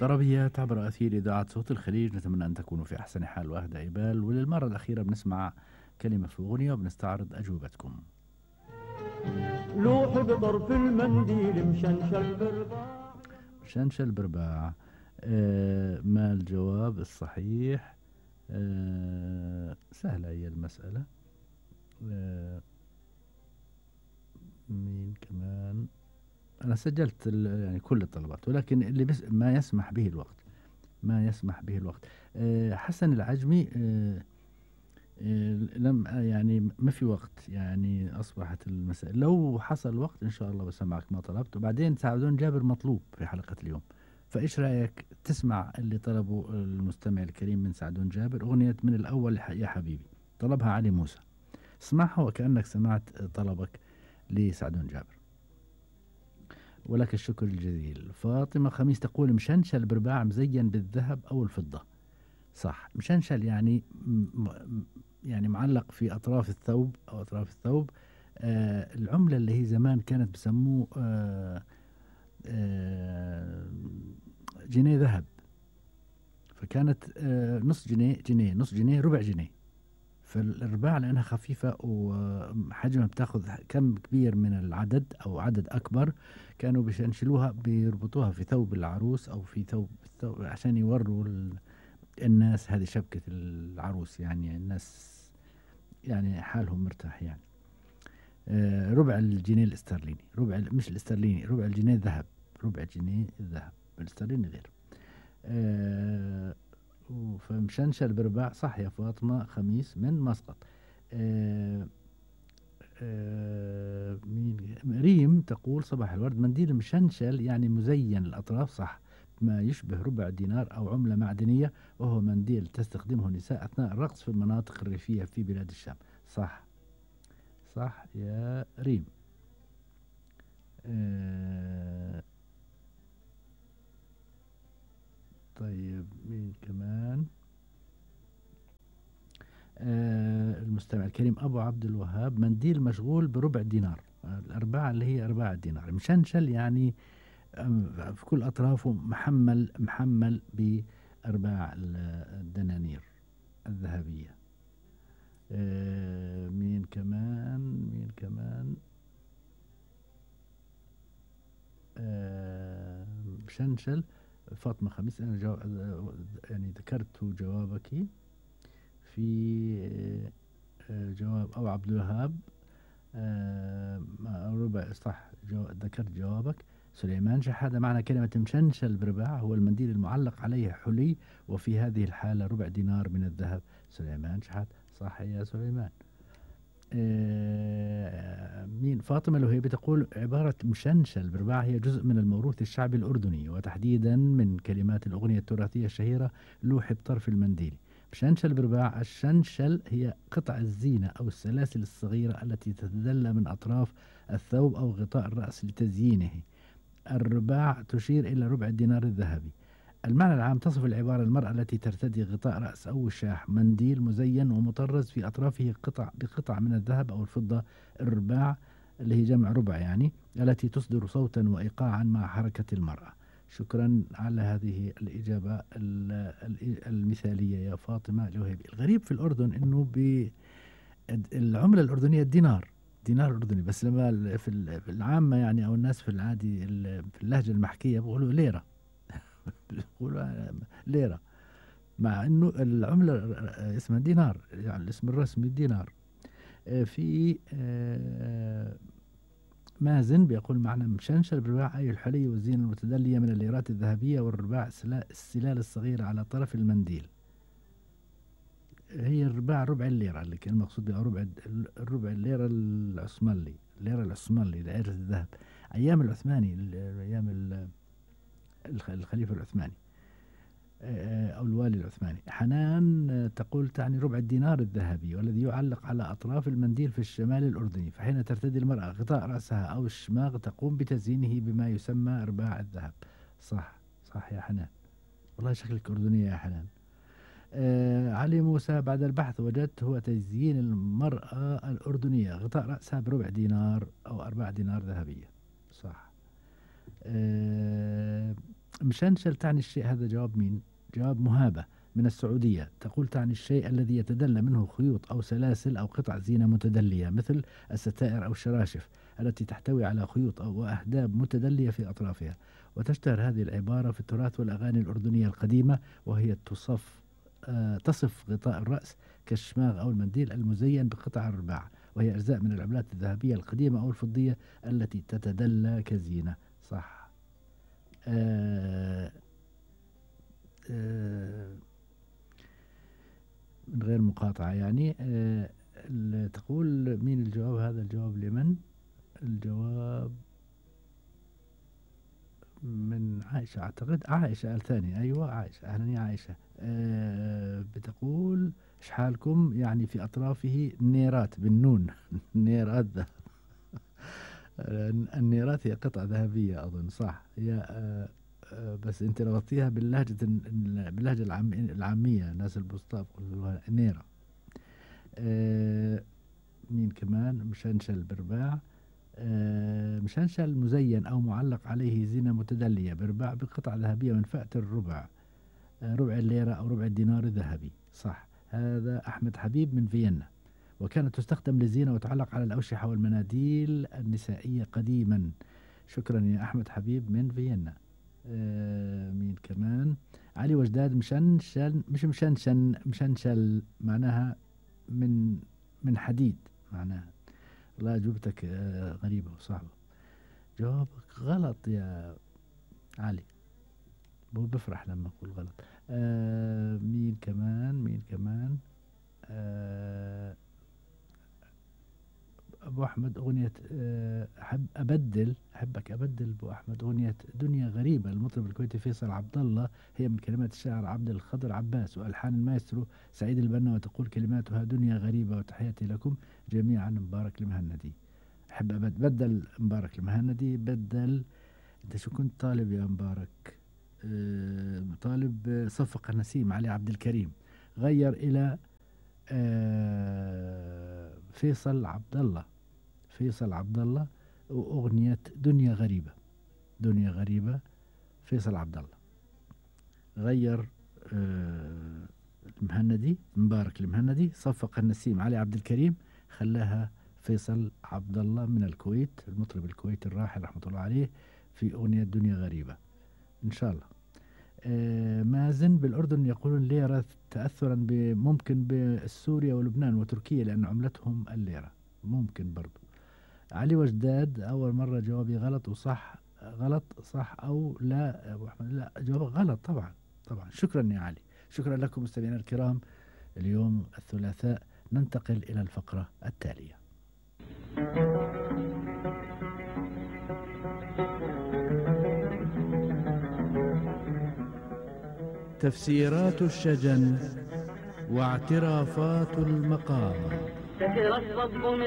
طربيات عبر أثير إذاعة صوت الخليج، نتمنى أن تكونوا في أحسن حال وأهدى عبال، وللمرة الأخيرة بنسمع كلمة في أغنية وبنستعرض أجوبتكم. لوح بطرف المنديل مشنشل برباع. شنشل برباع. ما الجواب الصحيح؟ سهلة هي المسألة. مين كمان؟ أنا سجلت يعني كل الطلبات، ولكن اللي بس ما يسمح به الوقت، ما يسمح به الوقت. حسن العجمي. لم يعني ما في وقت، يعني أصبحت المسألة لو حصل وقت إن شاء الله بسمعك ما طلبت، وبعدين سعدون جابر مطلوب في حلقة اليوم، فإيش رأيك تسمع اللي طلبه المستمع الكريم من سعدون جابر، أغنية من الأول يا حبيبي، طلبها علي موسى، اسمعها وكأنك سمعت طلبك لسعدون جابر. ولك الشكر الجزيل. فاطمة خميس تقول مشنشل برباع مزين بالذهب أو الفضة. صح، مشنشل يعني يعني معلق في أطراف الثوب أو أطراف الثوب. العملة اللي هي زمان كانت بسموه جنيه ذهب، فكانت نص جنيه، جنيه، نص جنيه، ربع جنيه. فالرباع لأنها خفيفة وحجمها بتاخذ كم كبير من العدد أو عدد أكبر، كانوا بيشنشلوها بيربطوها في ثوب العروس أو في ثوب عشان يوروا الناس هذه شبكة العروس، يعني الناس يعني حالهم مرتاح يعني. ربع الجنيه الاسترليني، ربع مش الاسترليني، ربع الجنيه ذهب، ربع جنيه الذهب، الاسترليني غير. فمشنشل برباع. صح يا فاطمة خميس من مسقط. مين ريم تقول صباح الورد، منديل مشنشل يعني مزين الأطراف، صح، ما يشبه ربع دينار أو عملة معدنية، وهو منديل تستخدمه النساء أثناء الرقص في المناطق الريفية في بلاد الشام. صح، صح يا ريم. طيب مين كمان؟ المستمع الكريم أبو عبد الوهاب، منديل مشغول بربع دينار، الأرباع اللي هي أرباع الدينار. مشنشل يعني في كل أطرافه محمل بأرباع الدنانير الذهبية. مين كمان؟ مين كمان؟ مشنشل. فاطمة خميس، أنا يعني ذكرت جوابك في جواب أبو عبد الوهاب. ربع صح، ذكرت جوابك. سليمان شحادة، معنى كلمة مشنشل برباع هو المنديل المعلق عليه حلي، وفي هذه الحالة ربع دينار من الذهب. سليمان شحادة، صح يا سليمان. مين؟ فاطمة الوهيبي تقول عبارة مشنشل برباع هي جزء من الموروث الشعبي الأردني، وتحديدا من كلمات الأغنية التراثية الشهيرة لوح بطرف المنديل. مشنشل برباع، الشنشل هي قطع الزينة أو السلاسل الصغيرة التي تتدلى من أطراف الثوب أو غطاء الرأس لتزيينه. الرباع تشير إلى ربع الدينار الذهبي. المعنى العام تصف العبارة المرأة التي ترتدي غطاء رأس أو وشاح، منديل مزين ومطرز في أطرافه بقطع من الذهب أو الفضة. الرباع اللي هي جمع ربع يعني، التي تصدر صوتا وإيقاعا مع حركة المرأة. شكرا على هذه الإجابة المثالية يا فاطمة الوهيبي. الغريب في الأردن أنه العملة الأردنية الدينار، دينار أردني، بس لما في العامة يعني أو الناس في العادي في اللهجة المحكية بيقولوا ليرة بيقولوا ليرة، مع أنه العملة اسمها دينار، يعني الاسم الرسمي دينار. في مازن بيقول معنى مشنشل بالرباع أي الحلي والزينة المتدلية من الليرات الذهبية والرباع السلال الصغيرة على طرف المنديل. هي الرباع ربع الليرة اللي كان المقصود بها الربع الليرة العثماني، الليرة العثماني دائرة الذهب أيام العثماني، أيام الخليفة العثماني أو الوالي العثماني. حنان تقول تعني ربع الدينار الذهبي والذي يعلق على أطراف المنديل في الشمال الأردني، فحين ترتدي المرأة غطاء رأسها أو الشماغ تقوم بتزيينه بما يسمى أرباع الذهب. صح، صح يا حنان، والله شكلك أردنية يا حنان. علي موسى، بعد البحث وجدت هو تزيين المرأة الأردنية غطاء رأسها بربع دينار أو أرباع دينار ذهبية. صح. مشنشل تعني الشيء، هذا جواب مين؟ جواب مهابة من السعودية، تقول تعني الشيء الذي يتدلى منه خيوط أو سلاسل أو قطع زينة متدلية، مثل الستائر أو الشراشف التي تحتوي على خيوط أو أهداب متدلية في أطرافها. وتشتهر هذه العبارة في التراث والأغاني الأردنية القديمة، وهي تصف غطاء الرأس كالشماغ أو المنديل المزين بقطع الرباع، وهي أجزاء من العملات الذهبية القديمة أو الفضية التي تتدلى كزينة. صح. من غير مقاطعة يعني. تقول مين الجواب؟ هذا الجواب لمن؟ الجواب من عائشة أعتقد. عائشة الثانية، أيوة عائشة. أهلا يا عائشة. بتقول إيش حالكم؟ يعني في أطرافه نيرات بالنون. نيرات ذهب. النيرات هي قطعة ذهبية أظن. صح. هي بس أنت ربطيها باللهجة العامية، ناس البسطاء يقولوها نيرة. مين كمان؟ مشنشل برباع. مشنشل مزين أو معلق عليه زينة متدلية برباع بقطع ذهبية من فئة الربع، ربع الليرة أو ربع الدينار الذهبي. صح. هذا أحمد حبيب من فيينا. وكانت تستخدم للزينة وتعلق على الأوشحة والمناديل النسائية قديما. شكرا يا أحمد حبيب من فيينا. مين كمان؟ علي وجداد. مشنشل مش مشنشل معناها من حديد معناها. والله جوبتك غريبة وصعبة. جوابك غلط يا علي، هو بفرح لما أقول غلط. مين كمان؟ أبو أحمد أغنية أحبك أبدل أبو أحمد، أغنية دنيا غريبة المطرب الكويتي فيصل عبد الله، هي من كلمات الشاعر عبد الخضر عباس وألحان المايسترو سعيد البنا، وتقول كلماتها دنيا غريبة. وتحياتي لكم جميعا. مبارك المهندي. أحب بدل مبارك المهندي. بدل. أنت شو كنت طالب يا مبارك؟ طالب صفق النسيم علي عبد الكريم، غير إلى فيصل عبد الله وأغنية دنيا غريبة فيصل عبد الله. غير المهندي مبارك المهندي، صفق النسيم علي عبد الكريم، خلاها فيصل عبد الله من الكويت، المطرب الكويتي الراحل رحمة الله عليه، في أغنية دنيا غريبة إن شاء الله. مازن بالأردن يقولون ليرة تأثرا ممكن بسوريا ولبنان وتركيا لأن عملتهم الليرة، ممكن برضو. علي وجداد أول مرة جوابي غلط وصح. غلط صح أو لا أبو أحمد؟ لا، جوابك غلط طبعا. شكرا يا علي. شكرا لكم مستمعينا الكرام. اليوم الثلاثاء ننتقل إلى الفقرة التالية. تفسيرات الشجن واعترافات المقام.